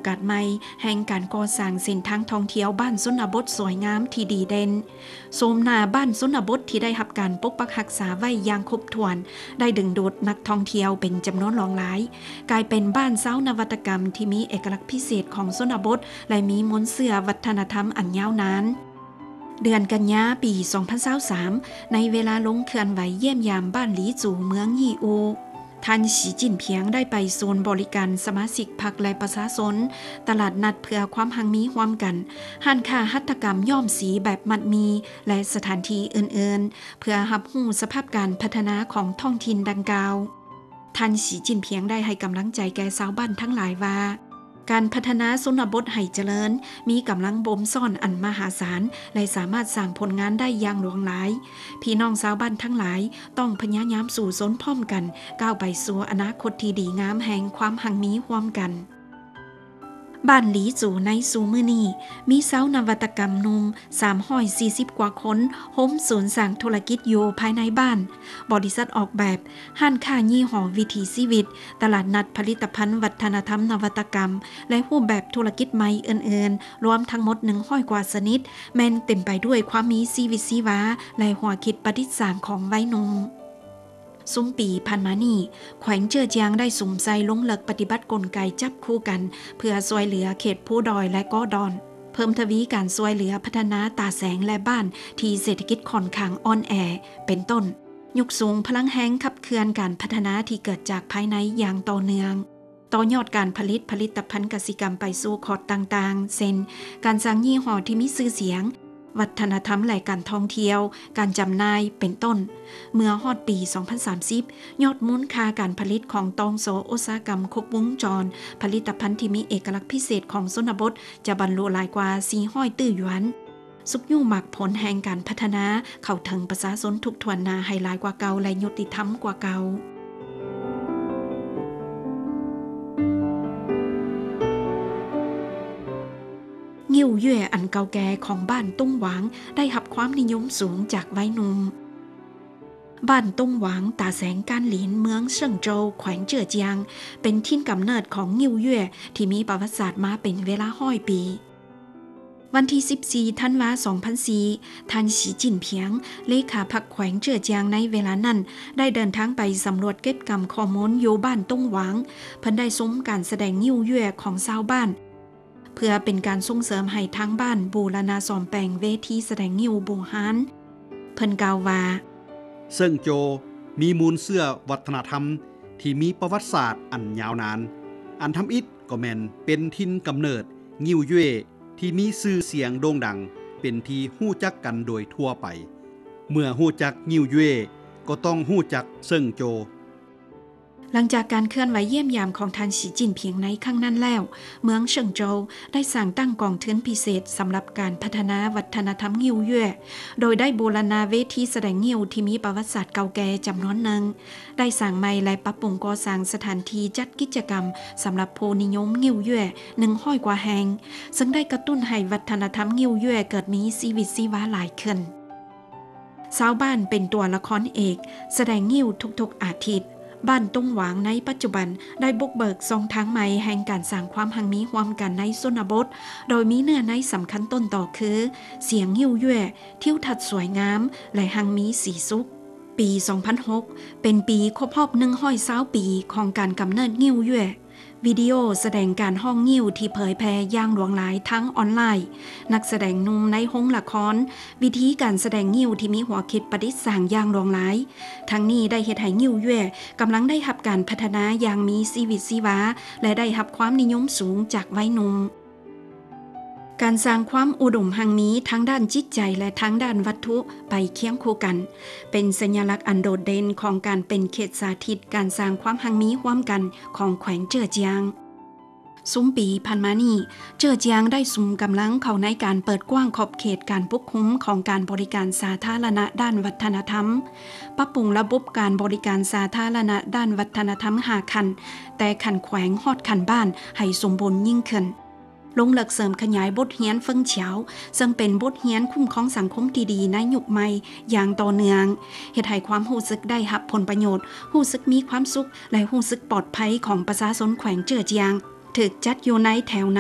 ກາດໃໝ່ແຫ່ງການກໍ່ສ້າງເສັ້ນທາງທ່ອງທ່ຽວບ້ານຊົນນະບົດສວຍງາມທີ່ດີເດັ່ນ. ໂສມໜ້າບ້ານຊົນນະບົດທີ່ໄດ້ຮັບການປົກປັກຮັກສາໄວ້ຢ່າງຄົບຖ້ວນ ໄດ້ດຶງດູດນັກທ່ອງທ່ຽວເປັນຈຳນວນຫຼວງຫຼາຍ, ກາຍເປັນບ້ານຊາວນະວັດຕະກຳທີ່ມີເອກະລັກພິເສດຂອງຊົນນະບົດ ແລະ ມີມູນເຊື້ອວັດທະນະທຳອັນຍາວນານ. ເດືອນກັນຍາປີສອງພັນຊາວສາມ ໃນເວລາລົງເຄື່ອນໄຫວຢ້ຽມຢາມບ້ານຫຼີຈູ ເມືອງຍີ່ອູ ທ່ານ ສີຈິ້ນຜິງ ໄດ້ໄປສູນບໍລິການສະມາຊິກພັກ ແລະ ປະຊາຊົນ, ຕະຫຼາດນັດເພື່ອຄວາມຮັ່ງມີຮ່ວມກັນ, ຮ້ານຄ້າຫັດຖະກຳຍ້ອມສີແບບມັດໝີ່ ແລະ ສະຖານທີ່ອື່ນໆ ເພື່ອຮັບຮູ້ສະພາບການພັດທະນາຂອງທ້ອງຖິ່ນດັ່ງກ່າວ. ທ່ານ ສີຈິ້ນຜິງ ໄດ້ໃຫ້ກຳລັງໃຈແກ່ຊາວບ້ານທັງຫຼາຍວ່າ ການພັດທະນາຊົນນະບົດໃຫ້ຈະເລີນ ມີກຳລັງບົ່ມຊ້ອນອັນມະຫາສານ ແລະ ສາມາດສ້າງຜົນງານໄດ້ຢ່າງຫຼວງຫຼາຍ. ພີ່ນ້ອງຊາວບ້ານທັງຫຼາຍຕ້ອງພະຍາຍາມສູ້ຊົນພ້ອມກັນ ກ້າວໄປສູ່ອະນາຄົດທີ່ດີງາມແຫ່ງຄວາມຮັ່ງມີຮ່ວມກັນ. ບ້ານຫຼີຈູໃນຊຸມື້ນີ້ ມີຊາວນະວັດຕະກຳໜຸ່ມສາມຮ້ອຍສີ່ສິບກວ່າຄົນ ໂຮມສູນສ້າງທຸລະກິດຢູ່ພາຍໃນບ້ານ, ບໍລິສັດອອກແບບ, ຮ້ານຄ້າຍີ່ຫໍ້ວິຖີຊີວິດ, ຕະຫຼາດນັດຜະລິດຕະພັນວັດທະນະທຳນະວັດຕະກຳ ແລະ ຮູບແບບທຸລະກິດໃໝ່ອື່ນໆ, ລວມທັງໝົດໜຶ່ງຮ້ອຍກວ່າຊະນິດ, ແມ່ນເຕັມໄປດ້ວຍຄວາມມີຊີວິດຊີວາ ແລະ ຫົວຄິດປະດິດສ້າງຂອງໄວໜຸ່ມ. ຊຸມປີຜ່ານມານີ້, ແຂວງເຈີອຈຽງໄດ້ສຸມໃສ່ລົງເລິກປະຕິບັດກົນໄກຈັບຄູ່ກັນ ເພື່ອຊ່ວຍເຫຼືອເຂດພູດອຍ ແລະ ເກາະດອນ, ເພີ່ມທະວີການຊ່ວຍເຫຼືອພັດທະນາຕາແສງ ແລະ ບ້ານທີ່ເສດຖະກິດຂ້ອນຂ້າງອ່ອນແອ ເປັນຕົ້ນ ຍົກສູງພະລັງແຮງຂັບເຄື່ອນການພັດທະນາທີ່ເກີດຈາກພາຍໃນຢ່າງຕໍ່ເນື່ອງ, ຕໍ່ຍອດການຜະລິດຜະລິດຕະພັນກະສິກຳໄປສູ່ຂອດຕ່າງໆ ເຊັ່ນ ການສ້າງຍີ່ຫໍ້ທີ່ມີຊື່ສຽງ, ວັດທະນະທຳ ແລະ ການທ່ອງທ່ຽວ, ການຈຳໜ່າຍ ເປັນຕົ້ນ. ເມື່ອຮອດປີສອງພັນສາມສິບ ຍອດມູນຄ່າການຜະລິດຂອງຕອງໂສອຸດສາຫະກຳຄົບວົງຈອນ, ຜະລິດຕະພັນທີ່ມີເອກະລັກພິເສດຂອງຊົນນະບົດ ຈະບັນລຸຫຼາຍກວ່າສີ່ຮ້ອຍຕື້ຢວນ, ຊຸກຍູ້ໝາກຜົນແຫ່ງການພັດທະນາເຂົ້າເຖິງປະຊາຊົນທຸກຖ້ວນໜ້າໃຫ້ຫຼາຍກວ່າເກົ່າ ແລະ ຍຸຕິທຳກວ່າເກົ່າ. ງິ້ວເຢຍອັນເກົ່າແກ່ຂອງບ້ານຕົງຫວາງໄດ້ຮັບຄວາມນິຍົມສູງຈາກໄວໜຸ່ມ. ບ້ານຕົງຫວາງ ຕາແສງການຫຼີນ ເມືອງເຊິງໂຈວ ແຂວງເຈີອຈຽງ ເປັນຖິ່ນກຳເນີດຂອງງິ້ວເຢຍທີ່ມີປະຫວັດສາດມາເປັນເວລາຮ້ອຍປີ. ວັນທີສິບສີ່ ທັນວາ ສອງພັນສີ່ ທ່ານ ສີຈິ້ນຜິງ ເລຂາພັກແຂວງເຈີອຈຽງໃນເວລານັ້ນ ໄດ້ເດີນທາງໄປສຳຫຼວດເກັບກຳຂໍ້ມູນຢູ່ບ້ານຕົງຫວາງ. ເພິ່ນໄດ້ຊົມການສະແດງງິ້ວເຢຍຂອງຊາວບ້ານ ເພື່ອເປັນການສົ່ງເສີມໃຫ້ທາງບ້ານບູລະນະສ້ອມແປງເວທີສະແດງງິ້ວບູຮານ. ເພິ່ນກ່າວວ່າ ເຊິງໂຈວມີມູນເຊື້ອວັດທະນະທຳທີ່ມີປະຫວັດສາດອັນຍາວນານ. ອັນທຳອິດກໍແມ່ນເປັນຖິ່ນກຳເນີດງິ້ວເຢຍທີ່ມີຊື່ສຽງໂດ່ງດັງ ເປັນທີ່ຮູ້ຈັກກັນໂດຍທົ່ວໄປ. ເມື່ອຮູ້ຈັກງິ້ວເຢຍ ກໍຕ້ອງຮູ້ຈັກເຊິງໂຈວ. ຫຼັງຈາກການເຄື່ອນໄຫວຢ້ຽມຢາມຂອງທ່ານ ສີຈິ້ນຜິງ ໃນຄັ້ງນັ້ນແລ້ວ, ເມືອງເຊິງໂຈວໄດ້ສ້າງຕັ້ງກອງທຶນພິເສດສຳລັບການພັດທະນາວັດທະນະທຳງິ້ວເຢຍ ໂດຍໄດ້ບູລະນະເວທີສະແດງງິ້ວທີ່ມີປະຫວັດສາດເກົ່າແກ່ຈຳນວນໜຶ່ງ, ໄດ້ສ້າງໃໝ່ ແລະ ປັບປຸງກໍ່ສ້າງສະຖານທີ່ຈັດກິດຈະກຳສຳລັບຜູ້ນິຍົມງິ້ວເຢຍໜຶ່ງຮ້ອຍກວ່າແຫ່ງ, ເຊິ່ງໄດ້ກະຕຸ້ນໃຫ້ວັດທະນະທຳງິ້ວເຢຍເກີດມີຊີວິດຊີວາຫຼາຍຂຶ້ນ. ຊາວບ້ານເປັນຕົວລະຄອນເອກສະແດງງິ້ວທຸກໆອາທິດ. ບ້ານຕົງຫວາງໃນປັດຈຸບັນໄດ້ບຸກເບີກຊ່ອງທາງໃໝ່ແຫ່ງການສ້າງຄວາມຮັ່ງມີຮ່ວມກັນໃນຊົນນະບົດ, ໂດຍມີເນື້ອໃນສຳຄັນຕົ້ນຕໍຄື ສຽງງິ້ວເຢຍ, ທິວທັດສວຍງາມ ແລະ ຮັ່ງມີສີສຸກ. ປີສອງພັນຫົກ ເປັນປີຄົບຮອບໜຶ່ງຮ້ອຍຊາວປີຂອງການກຳເນີດງິ້ວເຢຍ. ວິດີໂອສະແດງການຮ້ອງງິ້ວທີ່ເຜີຍແຜ່ຢ່າງຫຼວງຫຼາຍທາງອອນລາຍ, ນັກສະແດງໜຸ່ມໃນໂຮງລະຄອນ, ວິທີການສະແດງງິ້ວທີ່ມີຫົວຄິດປະດິດສ້າງຢ່າງຫຼວງຫຼາຍ, ທັງນີ້ໄດ້ເຮັດໃຫ້ງິ້ວເຢຍກຳລັງໄດ້ຮັບການພັດທະນາຢ່າງມີຊີວິດຊີວາ ແລະ ໄດ້ຮັບຄວາມນິຍົມສູງຈາກໄວໜຸ່ມ. ການສ້າງຄວາມອຸດົມຮັ່ງມີທາງດ້ານຈິດໃຈ ແລະ ທາງດ້ານວັດຖຸໄປຄຽງຄູ່ກັນ ເປັນສັນຍະລັກອັນໂດດເດັ່ນຂອງການເປັນເຂດສາທິດການສ້າງຄວາມຮັ່ງມີຮ່ວມກັນຂອງແຂວງເຈີອຈຽງ. ຊຸມປີຜ່ານມານີ້, ເຈີອຈຽງໄດ້ສຸມກຳລັງເຂົ້າໃນການເປີດກວ້າງຂອບເຂດການປົກຄຸມຂອງການບໍລິການສາທາລະນະດ້ານວັດທະນະທຳ, ປັບປຸງລະບົບການບໍລິການສາທາລະນະດ້ານວັດທະນະທຳຫ້າຂັ້ນ, ແຕ່ຂັ້ນແຂວງຮອດຂັ້ນບ້ານໃຫ້ສົມບູນຍິ່ງຂຶ້ນ. ລົງເລິກເສີມຂະຫຍາຍບົດຮຽນເຟິງຂຽວ ເຊິ່ງເປັນບົດຮຽນຄຸ້ມຄອງສັງຄົມທີ່ດີໃນຍຸກໃໝ່ຢ່າງຕໍ່ເນື່ອງ, ເຮັດໃຫ້ຄວາມຮູ້ສຶກໄດ້ຮັບຜົນປະໂຫຍດ, ຮູ້ສຶກມີຄວາມສຸກ ແລະ ຮູ້ສຶກປອດໄພຂອງປະຊາຊົນແຂວງເຈີອຈຽງ ຖືກຈັດຢູ່ໃນແຖວ